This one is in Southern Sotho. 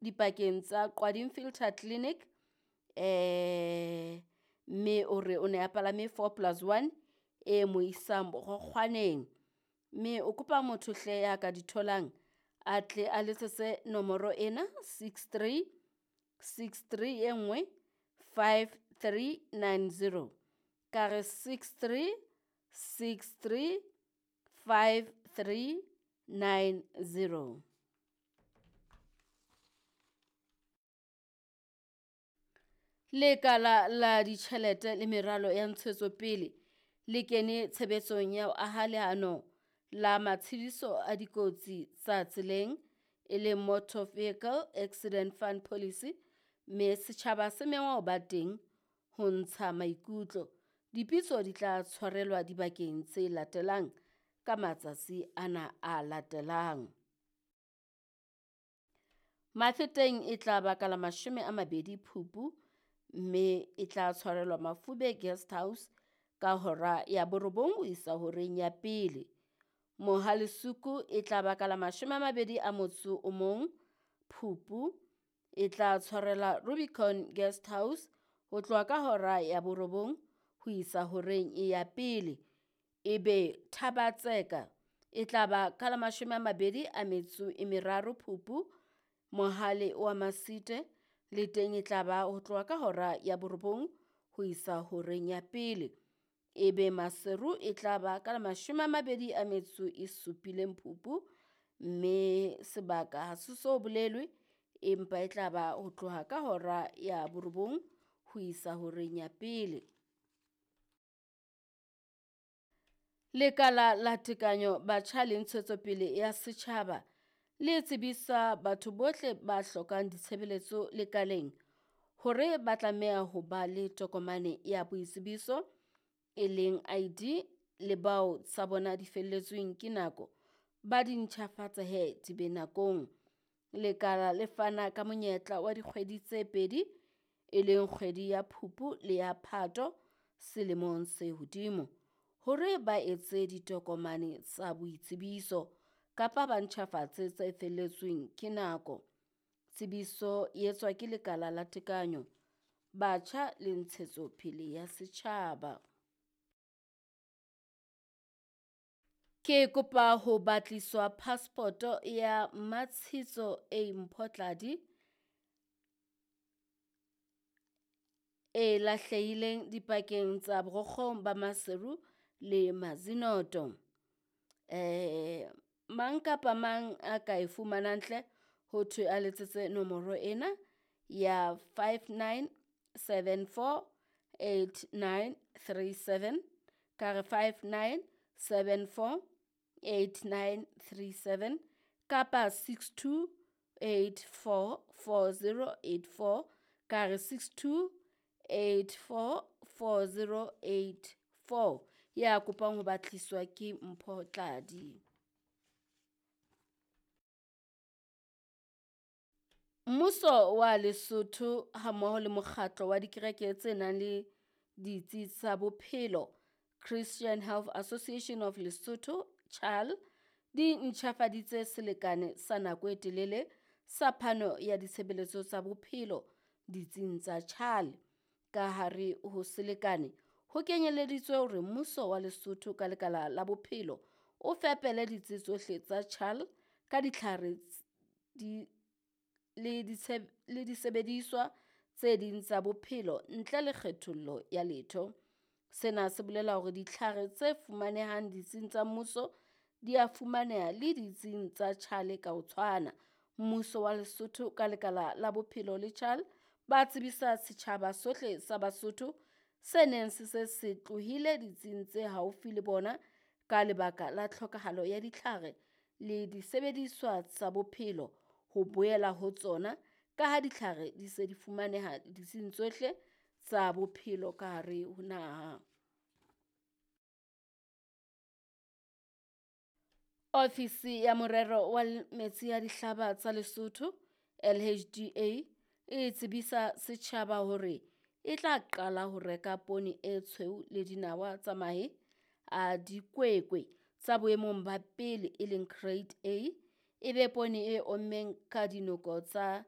dipakeng tsa Qwading Filter Clinic mme o re o ne a palame 4+1 e mo isang Borokgwaneng. Mme o kopa motho hle ya ka di tholang a tle a letsetse nomoro ena 63 63 e nngwe 5390. Ka re 63 63 5390. Lekala la ditjhelete le meralo ya ntshetsopele le kene tshebetsong ya ho aha leano la matshediso a dikotsi tsa tseleng e leng Motor Vehicle Accident Fund Policy mme setjhaba se mengwa ho ba teng ho ntsha maikutlo. Dipitso di tla tshwarelwa dibakeng tse latelang ka matsatsi ana a latelang. Mafeteng e tla ba ka la 20 Phupu mme e tla tshwarelwa Mafube Guest House ka hora ya 9 ho isa horeng ya 1. Mohalesuku e tla ba ka la 21 Phupu e tla tshwarelwa Rubicon Guest House ho tloha ka hora ya 9 ho isa horeng ya 1. Ebe Thabatseka e tla ba ka la 23 Phupu Mohale wa Masite le teng e tla ba ho tloha ka hora ya 9 ho isa horeng ya 1. Ebe Maseru e tla ba ka la 27 Phupu mme sebaka ha se so bolelwe empa e tla ba ho tloha ka hora ya 9 ho isa horeng ya 1. Lekala la tekanyo batjha le ntshetsopele ya setjhaba le tsebisa batho bohle ba hlokang ditshebeletso lekaleng hore ba tlameha ho ba le tokomane ya boitsebiso e leng ID le bao tsa bona di felletsweng ke nako ba di ntjhafatse he di be nakong. Lekala le fana ka monyetla wa dikgwedi tse 2 e leng kgwedi ya Phupu le ya Phato selemong se hodimo hore ba etse ditokomane tsa boitsebiso kapa ba ntjhafatse tse felletsweng ke nako. Tsebiso e etswa ke lekala la tekanyo batjha le ntshetsopele ya setjhaba. Ke kopa ho batliswa passport ya Matshitso A Mphotladi e lahlehileng dipakeng tsa Borokgong ba Maseru le Mazinoto. Mang kapa mang a ka e fumanang hle ho thwe a letsetse nomoro ena ya 59748937 ka re 59748937 kapa 62844084 ka re 62844084 ya kopang ho batliswa ke Mphotladi. Mmuso wa Lesotho hammoho le mokgatlo wa dikereke tse nang le ditsi tsa bophelo Christian Health Association of Lesotho CHAL di ntjhafaditse selekane sa nako e telele sa phano ya ditshebeletso tsa bophelo ditsing tsa CHAL. Ka hare ho selekane ho kenyeleditswe hore mmuso wa Lesotho ka lekala la bophelo o fepele ditsi tsohle tsa CHAL ka ditlhare le disebediswa tse ding tsa bophelo ntle le kgethollo ya letho. Sena se bolela hore ditlhare tse fumanehang ditsing tsa mmuso di a fumaneha le ditsing tsa CHAL ka ho tshwana. Mmuso wa Lesotho ka lekala la bophelo le CHAL ba tsebisa setjhaba sohle sa Basotho se neng se se se tlohile ditsing tse haufi le bona ka lebaka la tlhokahalo ya ditlhare le disebediswa tsa bophelo ho boela ho tsona ka ha ditlhare di se di fumaneha ditsing tsohle tsa bophelo ka hare ho naha. Ofisi ya morero wa metsi ya dihlaba tsa Lesotho LHDA e tsebisa setjhaba hore e tla qala ho reka poone e tshweu le dinawa tsa mahe a dikwekwe tsa boemong ba pele e leng grade A, e be poone e ommeng ka dinoko tsa